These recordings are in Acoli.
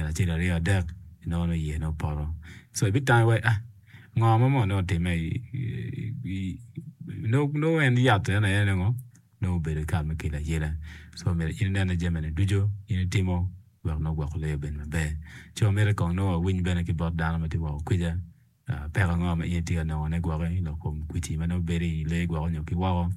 acel aryo adek inongo nongo iye nongo opoto so ibitamo iwaci ah ngo ma mono nongo otimme nongo en yat en aye nongo nongo obedo kare me kelo ayela so myero in inen ni jami-ni ducu in itimo wek nongo gwoko lee obed maber. Ci wamito kong nongo wawiny bene ki bot dano ma tye woko kwica peko ango ma in itye ka nongone gwoki lok kom kwici ma nongo bedo i lee gwoko nyo ki woko,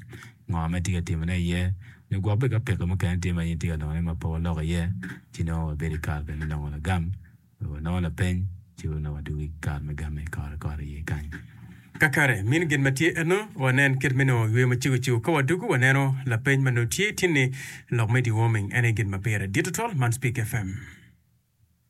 ngo ma itye ka timone iye nyo gwok bene ka peko mukene tye ma in itye ka nongone ma pe waloko iye ci nongo wabedo i kare bene me nongo lagam wek wanongo lapeny ci nongo wadwogo i kare me game kore kore iye kany. Kakare, mini gin ma tye eno, wanen kit me nongo yweyo macego cego. Ka wadwogo, waneno lapeny ma nongo tye tin ni lok me deworming en aye gin ma pire dit tutwal. Man Speak FM.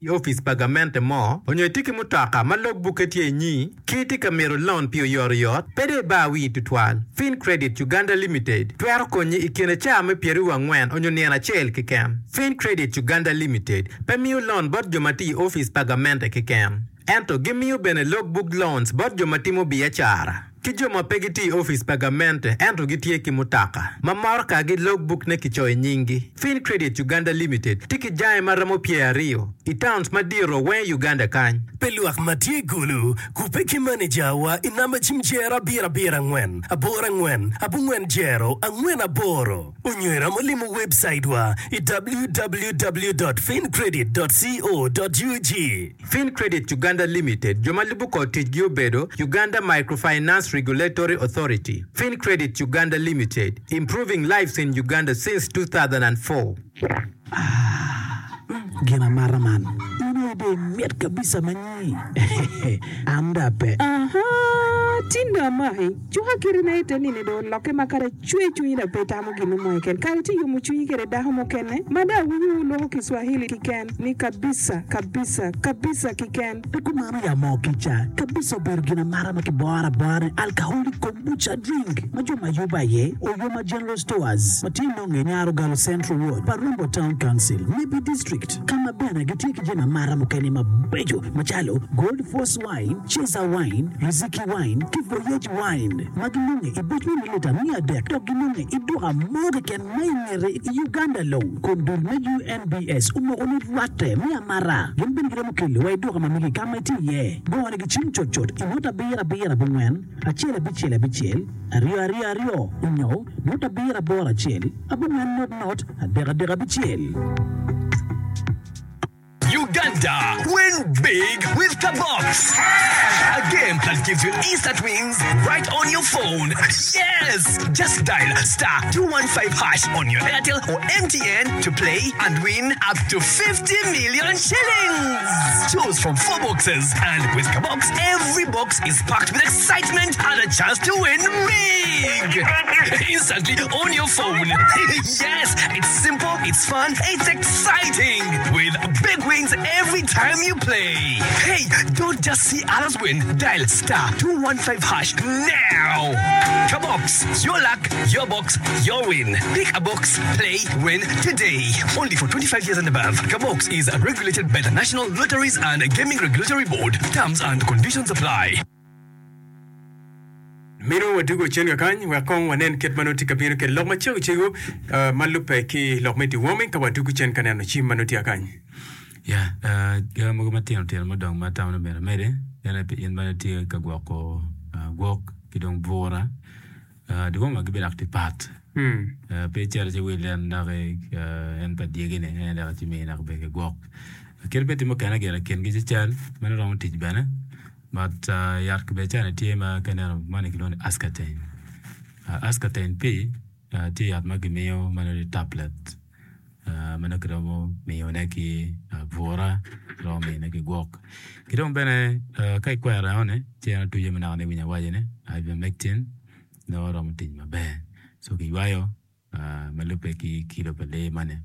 I opic pa gamente mo, onyo itye ki mutoka ma log bukke tye inyi, ki itye ka mito loan pi oyotoyot, pe dong ibar wii tutwal. Fincredit Uganda Limited twero konyi i kine caa me pyeraryo angwen onyo nino acel keken. Fincredit Uganda Limited pe miyo loan bot jo ma tye i opic pa gamente keken, ento gimiyo bene log book loans bot jo ma timo biacara ki jo ma pe gitye i opic pa gamente ento gitye ki mutoka ma morokagi log book ne kicoyo nyinggi. Fincredit Uganda Limited tye ki jange ma romo pyeraryo i towns madito weng i Uganda kany. Pi lwak ma tye i Gulu, kubbe ki manejawa i namba cim jero abiro abiro angwen aboro angwen abongwen jero angwen aboro. Onyo iromo limo webcaitwa i www dot fincredit dot co dot ug. Fincredit Uganda Limited jo ma lubo kor ticgi obedo, Uganda Microfinance Regulatory Authority, Fincredit Uganda Limited, Improving lives in Uganda since 2004. Aah gin amata man in aye dong imit kabisa ma nyi an dong ape. Ahaa tin dong amaki cuka kiti na ite nini dong olokke ma kadi acwe cwinyi dong pe itamo gin mo keken kare tye yomo cwinyi kede dako mukene ma dong awinyo wu lwoko kiswahili kiken ni kabisa kabisa kabisa kiken. Pe kumano ya moo kica kabisa obedo gin amata ma kiboro abora ni alcoholic kombucha drink ma jo ma yubo aye Oyoma General Stores ma tye nonge i Nyarogalo Central Ward pa Rombo Town Council, Nebbi District ka ma bene gitye ki jami amata mukene mabeco macalo Gold Force Wine, Cesar Wine, Riziki Wine ki Voyage Wine ma ginonge i buc me milita miya adek dok ginonge i duka mo keken ma i ngete i Uganda long kun dul me UNBS omoko ni rwatte me amata gin bene giromo kelo wa i duka ma megi ka ma itye iye. Gone gi cim cutcut i nota abiro abiro abongwen acel abicel abicel aryo aryo aryo onyo nota abiro aboro acel abongwen not not adek adek abicel. Uganda, win big with Kabox! A game that gives you instant wins right on your phone. Yes! Just dial star 215 hash on your Airtel or MTN to play and win up to 50 million shillings. Choose from four boxes, and with Kabox, every box is packed with excitement and a chance to win big. Instantly on your phone. Yes! It's simple, it's fun, it's exciting! With big wins every time you play. Hey, don't just see others win. Dial star 215 hash now. Kabox, your luck, your box, your win. Pick a box, play, win today. Only for 25 years and above. Kabox is regulated by the National Lotteries and Gaming Regulatory Board. Terms and conditions apply. Mito wadwogo cen kakany wek kong wanen kit ma nongo tye ka bino kwede lok macego cego ma lubbe ki lok me deworming ka wadwogo cen ka neno cim ma nongo tye kakany. Ya, gin mogo matino tino mudong ma atamo ni myero amedi en aye pi in ma itye ka gwoko gwok ki dong bura. Dewormer gibedo dok tye pat. Pe icito ci iwil en doki en pa dyegi-ni en aye dok ci miyi dok bed ki gwok. Kadi bed tye mukene gire kingi ci cal ma nongo romo tic bene. But yat kibeca-ni tye ma ka ineno moni kilwongo ni Ascartain. Ascartain P tye yat ma kimiyo ma nongo tye tablet ma nongo kiromo miyone ki bura, kiromo miyone ki gwok. Ki dong bene ka ikwero enoni ci en otuco ma naka ni iwinyo awaco-ni ivermectin nongo romo tic maber. So kiywayo ma lubbe ki kilo pa lee moni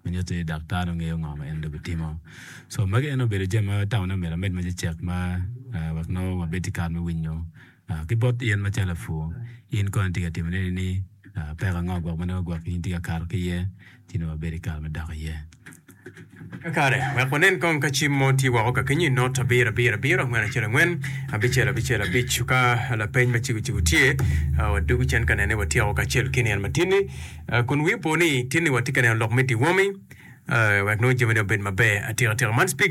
ma nyuto ni daktar nongo ngeyo ngo ma en dong bitimo. So magi ene obedo jami ma atamo ni myero amed ma cecek ma wek nongo wabed ki kare me winyo ki bot in macalo lapur in kono itye ka timone ni peko ango gwok ma nongo gwok in itye ka kato ki iye ci nongo wabed ki kare me dok iye. Kakare, wek wanen kong ka cim mo tye woko kakenyo i not abiro abiro abiro angwen acel angwen abicel abicel abic. Ka lapeny macego cego tye, wadwogo cen ka nene watyeko kacel ki nino matinni. Kun wi opo ni tinni watye ka neno lok me deworming wek nongo jamine obed maber atika tika. Man Speaker.